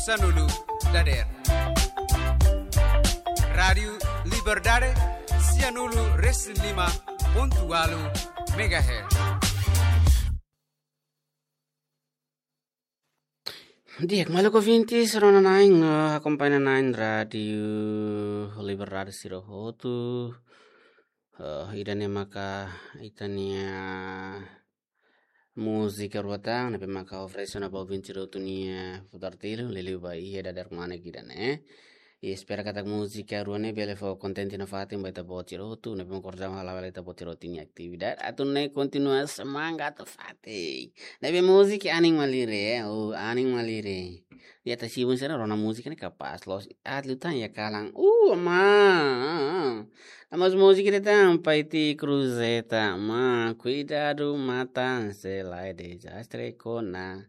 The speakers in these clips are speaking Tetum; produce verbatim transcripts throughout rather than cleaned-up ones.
sanulu dadeer. Rádiu Liberdade, sianulu resin lima pontu ualu megahertz. Di'ak, maluk ouvintes, rona na'in, eh, akompaña na'in Rádiu Liberdade sira hotu. Eh, ida-ne'e maka ita-nia múzika rua tan, ne'ebé maka oferese ona ba ouvinte sira hotu nia futar tilu, liuliu ba iha dadeer-manek ida-ne'e. I espera katak múzika rua ne'e bele fó kontente nafatin ba ita-boot sira hotu, ne'ebé maka orsida hala'o hela ita-boot sira hotu nia atividade. Atu nune'e kontinua semangat nafatin. Ne'ebé múzika anin malirin, eh, oh, anin malirin. Iha ita sibun sira rona múzika ne'e kapás loos. Aat liután iha kalan. Uh, aman. Namoos múzika ida tan, Paiti Cruzeta, aman. Kuidadu matan, se lae dezastre kona.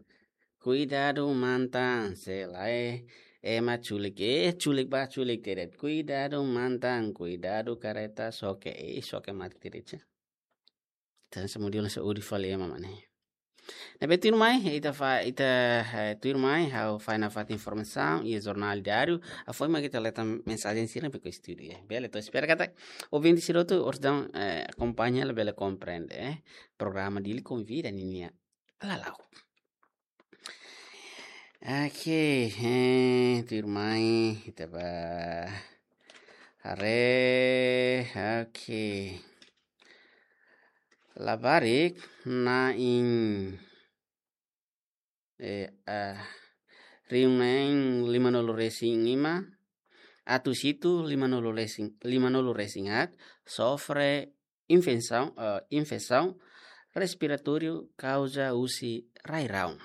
Kuidadu matan, se lae ema culik. Eh, culik ba, culik teret. Kuidadu matan, kuidadu kareta xoke. Eh, xoke mate teret, ya. Ita hanesan modelu hanesan odi fali ema mak ne'e. Ne'ebé tuirmai, ita fa-, ita, eh, tuirmai, ha'u fahe nafatin informasaun iha jornál diáriu, hafoin mak ita leta mensajen sira ne'ebé ho estudu, ya. Bele, ita espera katak ouvinte sira hotu orsida, eh, akompaña, labele komprende, eh. Programa Dili Konvida ninia lala'ok. Oke, eh, tuirmai, ita bá haree, oke. Labarik na'in, eh, ah, rihun neen limanulu resin lima, atus hitu limanulu resin, limanulu resin haat, sofre infesaun, eh, infesaun respiratóriu kauza husi rai-rahun.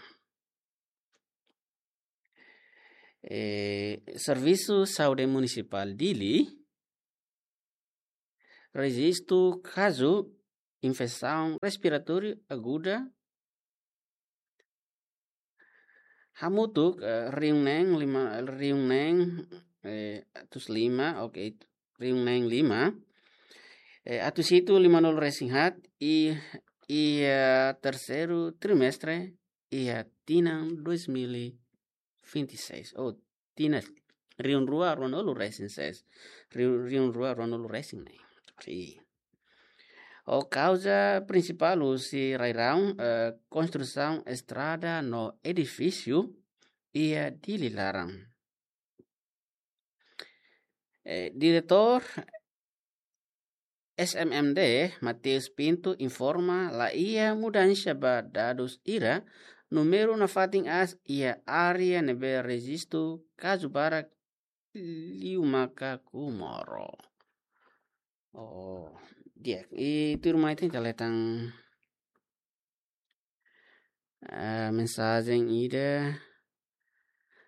Eh, Servisu Saúde Munisipál Dili rejistu kazu infesaun respiratóriu aguda hamutuk, eh, rihun neen lima, rihun neen, eh, atus lima, oke, rihun neen lima, eh, atus hitu limanulu resin haat i, i, eh, terseiru trimestre iha tinan dois mil e vinte e seis. Oh, tinan rihun rua ruanulu resin seis. Rihun, rihun rua ruanulu resin neen. Sim. Ho kauza prinsipál husi rai-rahun, eh, konstrusaun estrada no edifísiu iha Dili laran. Eh, Diretór S M M D, Mateus Pinto, informa la iha mudansa ba dadus ida, númeru nafatin aas iha área ne'ebé rejistu kazu barak liu maka Comoro. Oh, di'ak. I tuirmai ita leta tan, ah, mensajen ida.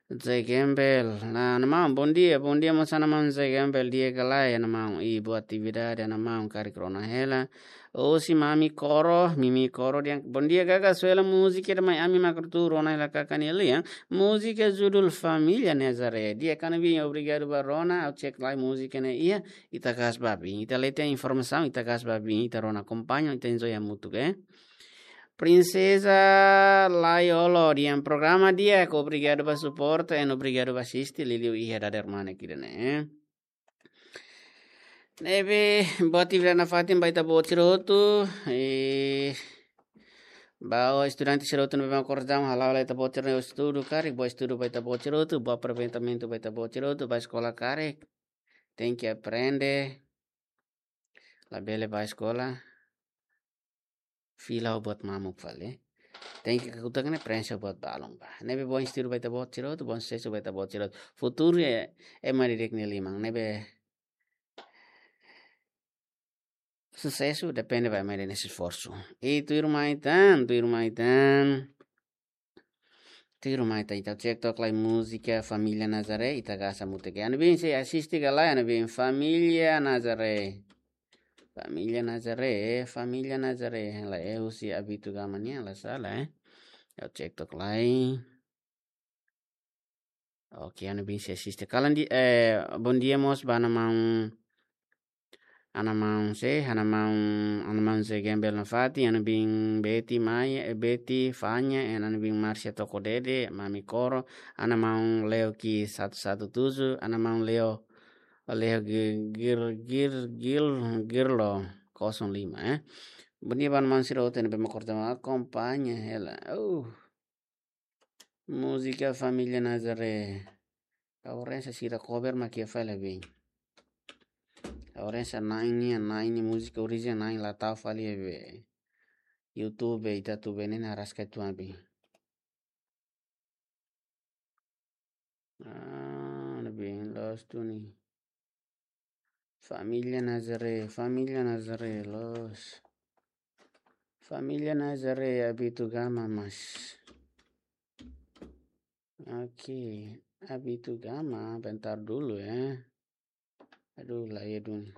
Zé Gembel. Nah, namaan, bom dia, bom dia, mós namaan Zé Gembel, di'ak ka lae, namaan, i boa atividade, namaan, karik rona hela. Husi Mami Koro, Mimi Koro, di'ak, bom dia, Gaga, soe hela múzika ida mai ami mak atu rona hela karik nia lian. Múzika judul Família Nazaré. Di'ak, Ana Bin, obrigadu ba rona, ha'u cek lai múzika ne'e iha, ita kaas ba bin. Ita leten informasaun, ita kaas ba bin, ita rona akompaña, ita enjoy hamutuk, eh. Prinseza Laiolo, di'ak, programa di'ak, obrigadu ba suporta, i obrigadu ba asiste, liuliu iha dadeer-manek ida-ne'e. Ne'ebé, boa atividade nafatin ba ita-boot sira hotu, i ba estudante sira hotu ne'ebé mak orsida hala'o hela ita-boot sira-nia estudu karik, boa estudu ba ita-boot sira hotu, boa aproveitamentu ba ita-boot sira hotu, ba eskola karik, tenke aprende, labele ba eskola fila ho buat mamuk fali. Tenke kakutak ne'e prenxe ho buat balun ba. Ne'ebé bom estudu ba ita-boot sira hotu, bom susesu ba ita-boot sira hotu. Futuru ema didik nia liman. Ne'ebé susesu depende ba ema ida-nia esforsu. I tuirmai tan, tuirmai tan. Tuirmai tan, ita cek tok lai múzika Família Nazaré, ita kaas hamutuk. Ana Bin sei asiste ka lae, Ana Bin, Família Nazaré. Família Nazaré, Família Nazaré. Lae, husi Abito Gama nian, la sala, eh. Ita cek tok lai. Oke, Ana Bin sei asiste. Kalan di, eh, bom dia mós ba namaan Ana maun se, ana maun, ana maun se Gembel Nafati, ana bin Beti Mai, eh, Beti Fanya, eh, ana bin Marcia Toko Dede, Mami Koro, ana maun Leo ki satu satu tujuh, ana maun Leo, Leo Gir, Gir, Gir, Gir, Girlo kosong lima, eh. Bondia ba ana maun sira hotu ne'ebé mak korta mak akompaña hela. Uh. Múzika Família Nazaré. Ha'u rasa sira cover mak iha fali bem. Ha'u rasa na'in nian, na'in nian múzika orijinál na'in la tau fali iha be YouTube, ita atu be ne'e araska tuan be. Ah, ne'ebé loos duni. Família Nazaré, Família Nazaré, loos. Família Nazaré, Abito Gama, mas. Oke, Abito Gama, bentar dulu ya. Aduh, la iha duni.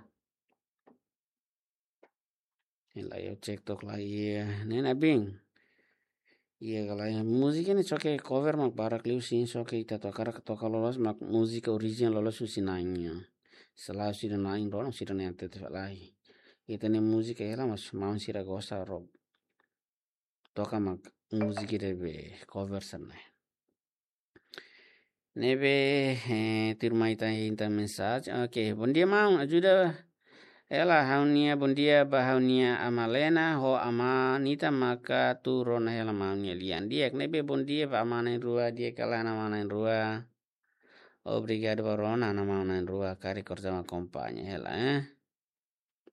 Ne'e la iha, cek tok la iha. Ne'e na bin. Iha ka lae, múzika ne'e só ke cover mak barak liu sin, só ke ita toka karik toka loloos mak múzika orijinál loloos husi na'in nian. Selae sira na'in rona sira-nia arte te lai. Ita-nia múzika hela mas maun sira gosta ro. Toka mak múzika ida be cover sira-ne'e. Ne'ebé, eh, tuirmai ita, ita mensajen. Oke, bondia maun, ajuda hela ha'u-nia, bondia ba ha'u-nia ama Lena, ho ama Nita maka atu rona hela maun nia lian. Di'ak, ne'ebé bondia ba ama na'in-rua, di'ak ka lae ama na'in-rua. Obrigadu ba rona, ana maun na'in-rua, karik korta mak akompaña hela, eh.